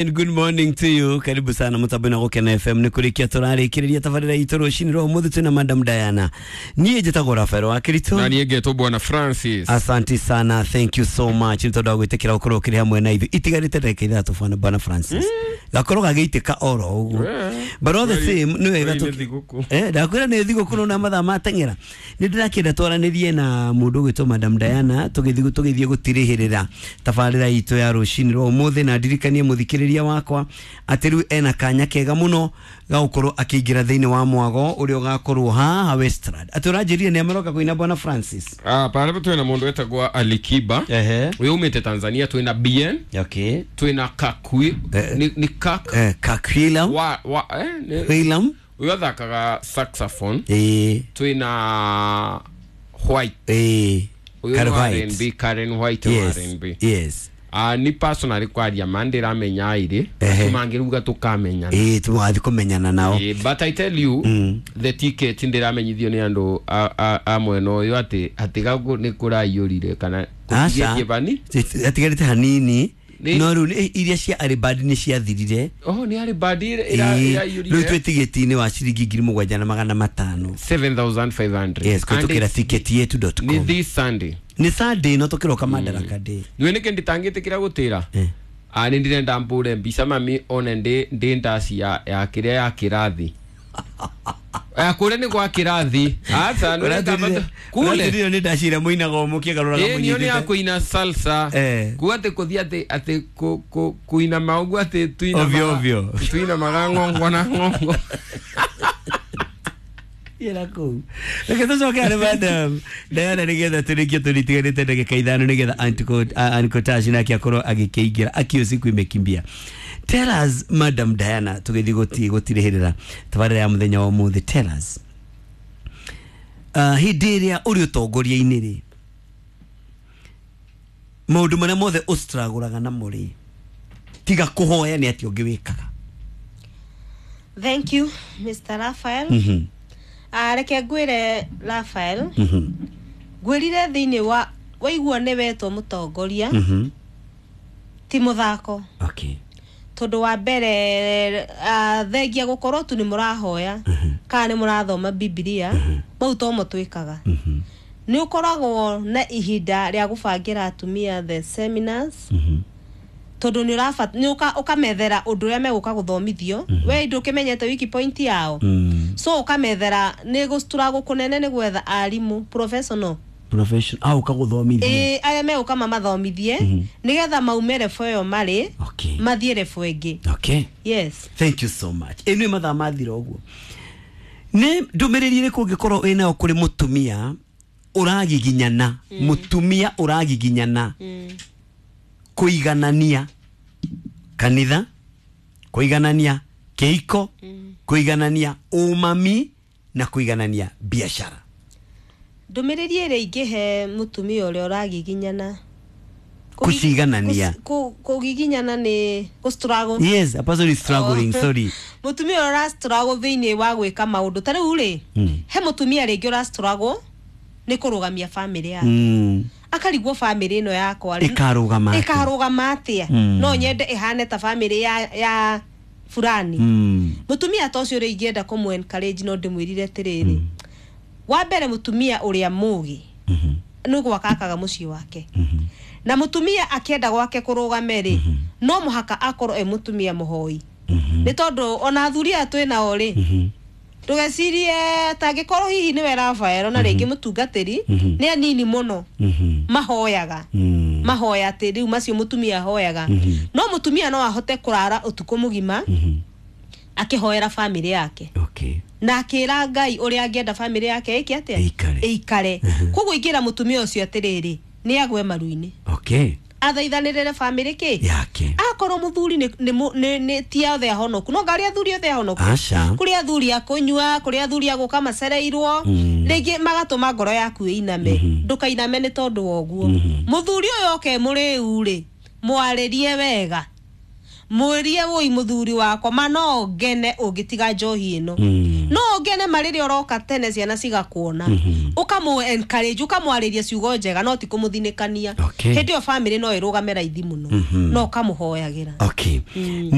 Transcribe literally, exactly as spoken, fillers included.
And good morning to you. Karibu sana mutabena Gukena F M. Nĩ kũrĩkia tũrarĩkĩrĩria tabarĩra itũ rũcinĩ rwa ũmũthĩ twĩna Madam Diana. Niĩ njĩtagwo Rafael wa Kirito. Na niĩ ngetwo Bwana Francis. Asante sana, thank you so much nĩ tondũ wa gwĩtĩkĩra gũkorwo ũkĩrĩ hamwe na ithuĩ. Itigarĩte ndagĩka ithatũ bwana Bwana Francis. Gakorwo gagĩitĩka oro ũguo. But all the same nĩ wega tũ thigũkũ. Eh, ndakwĩra nĩ thigũkũ na mathaa mateng'era. Nĩ ndĩrakĩenda twaranĩrie na mũndũ ũgwĩtwo Madam Diana tũgĩthiĩ tũgĩthiĩ gũtirĩhĩrĩra tabarĩra itũ ya rũcinĩ rwa ũmũthĩ, na ndirikanie mũthikĩrĩria wakwa atĩ rĩu ena kanya kega mũno ga gũkorwo akĩingĩra thĩinĩ wa mwago ũrĩa ũgakorwo haha Westland. Atĩ ũranjĩrire nĩ ameroka kũina Bwana Francis. Ah, pale twĩna mũndũ wetagwo Alikiba. Ehe. Ũyũ umĩte Tanzania, twĩna B N. Okay. Twĩna Kakwi. Eh. Ni, ni Kak. Eh, Kakwilam. Wa, wa, eh, ni, Willam. Ũyũ athakaga saxophone. Eh. Twĩna White. Eh. Ũyũ Karen nĩ White. R and B, Karen White wa Yes. R and B. Yes. Ah, ni personally kwaria mandĩramenya airĩ Ehe. mangĩruga tũkamenyana. Eh, tũgathiĩ kũmenyana nao. Eh, but I tell you Mm. the ticket ndĩramenyithio nĩ andũ a- a- a mwena ũyũ atĩ atĩ gũkũ nĩ kũraiyũrire kana Aca. kũtigĩtie bani. Atigarĩte hanini. Nĩ- No rĩu nĩ- iria cia Aribadi nĩ ciathirire. Oh, nĩ Aribadi Ĩĩ, ĩraiyũrire. rĩu twĩ tigiti-inĩ wa ciringi ngiri mũgwanja na magana matano. seven thousand five hundred. Yes, kũhĩtũkĩra And it's ticket yetu dot nĩ com. this Sunday. Nĩ Sunday no tũkĩroka Madaraka Day. Nĩwe nĩkĩ nditangĩtĩkĩra gũtĩra? Eh. Ah, nĩ ndĩrenda mbũre mbica mami one ndĩ ndĩ ndaci ya ya kĩrĩa ya kĩrathi. Eh, kũrĩa nĩ gwa kĩrathi. Aca, nĩ Ũratwĩrire- kule. ũratwĩrire nĩ ndaci ĩrĩa mũinaga o mũkĩgarũraga Ĩĩ, nĩyo nĩ ya mũnyitĩte. kũina salsa. Eh. Kuga atĩ kũthiĩ atĩ atĩ kũ- kũ- kũinama ũguo atĩ tuinamaga- Ovyo, ovyo. tuinamaga ng'ongo na ng'ongo. Ĩra kũu. Reke tũcoke harĩ Madam Diana nĩgetha tũrĩkie tũritiganĩte ndagĩka ithano nĩgetha Uncle Tash nake akorwo agĩkĩingĩra akio siku imekimbia. Tell us Madam Diana, tũgĩthiĩ gũti- gũtirĩhĩrĩra tabarĩra ya mũthenya wa ũmũthĩ. Tell us. Uh, hĩndĩ ĩrĩa ũrĩ ũtongoria-inĩ rĩ, maũndũ marĩa mothe ũstragũraga namo rĩ, tiga kũhoya nĩ atĩa ũngĩ wĩkaga? Thank you, Mister Raphael. Mhm. Ah, reke ngwĩre Raphael. Mhm. Ngwĩrire thĩinĩ wa waigua nĩ wetwo mũtongoria, Mhm. ti mũthako. Okay. Tondũ wa mbere, ah, thengia gũkorwo tu nĩ mũrahoya kana nĩ mũrathoma Bibilia, mau tomo twĩkaga. Mhm. Nĩ ũkoragwo na ihinda rĩa gũbangĩra atumia the seminars. Mhm. Tondũ nĩ ũrabat-, nĩ ũka-, ũkamethera ũndũ ũrĩa megũka gũthomithio. We ndũkĩmenyete wiki point yao. Mm. So ũkamethera nĩ gũstruggle kũnene nĩ gwetha arimũ professional. Professional. Ah, ũkagũthomithia. Ĩĩ, arĩa megũka mamathomithie nĩgetha maume level ĩyo marĩ, Okay. mathiĩ level ĩngĩ. Okay. Yes. Thank you so much. Ĩno nĩ mathaa mathira ũguo. Nĩ ndũmĩrĩri ĩrĩkũ ũngĩkorwo wĩnayo kũrĩ mũtumia ũragiginyana, mũtumia ũragiginyana kũiganania kanitha, kũiganania kĩhiko, kũiganania ũmami na kũiganania biashara? Ndũmĩrĩri ĩrĩa ingĩhe mũtumia ũrĩa ũragiginyana Kũciganania. Kũ-, kũgiginyana nĩ gũ-struggle. Yes, a person is struggling, Oh. sorry. Mũtumia ũrĩa ũra-struggle thĩinĩ wa gwĩka maũndũ ta rĩu rĩ, Mm. he mũtumia rĩngĩ ũra-struggle nĩ kũrũgamia famĩlĩ yake. Mm. Akarigwo famĩlĩ ĩno yakwa rĩ, Ĩkarũgama atĩa? ĩkarũgama atĩa? Mm. No nyende ĩhane ta famĩlĩ ya, ya fulani. Mm. Mũtumia ta ũcio rĩ, ingĩenda kũmũ encourage no ndĩmwĩrire atĩrĩrĩ, wa mbere mũtumia ũrĩa mũgĩ Mhm. nĩ gwaka akaga mũciĩ wake. Mhm. Na mũtumia akĩenda gwake kũrũgame rĩ, no mũhaka akorwo e mũtumia mũhoi. Mhm. Nĩ tondũ ona athuri aya twĩ nao rĩ, Mhm. ndũgecirie tangĩkorwo hihi nĩwe Rafael na rĩngĩ mũtungatĩri, Mhm. nĩ anini mũno Mhm. mahoyaga. Mm. Mahoya atĩ rĩu macio mũtumia ahoyaga. Mhm. No mũtumia no ahote kũrara ũtukũ mũgima Mhm. akĩhoera famĩlĩ yake. Okay. Na akĩra Ngai ũrĩa angĩenda famĩlĩ yake ĩke atĩa? Ĩikare. Ĩikare. Koguo ingĩra mũtumia ũcio atĩrĩrĩ, nĩ agwe maru-inĩ. Okay. Athaithanĩrĩre famĩlĩ kĩ? Yake. Akorwo mũthuri nĩ, nĩ, nĩ, nĩ ti othe ahonoku. No ngarĩ athuri othe ahonoku. Aca. Kũrĩ athuri a kũnyua, kũrĩ athuri a gũka macereirwo, Mm. rĩngĩ magatũma ngoro yaku ĩiname. Mhm. Ndũkainame nĩ tondũ wa ũguo. Mhm. Mũthuri ũyũ oke mũrĩu rĩ, mwarĩrie wega. Mwĩrie wũi mũthuri wakwa, ma no ngene ũngĩtiga njohi ĩno. Mm. No ũngene ma rĩrĩa ũroka tene ciana cigakuona, ũkamũ encourage, ũkamwarĩria ciugo njega, no ti kũmũthinĩkania. Okay. Hĩndĩ ĩyo family no ĩrũgame raithi mũno, no ũkamũhoyagĩra. Okay.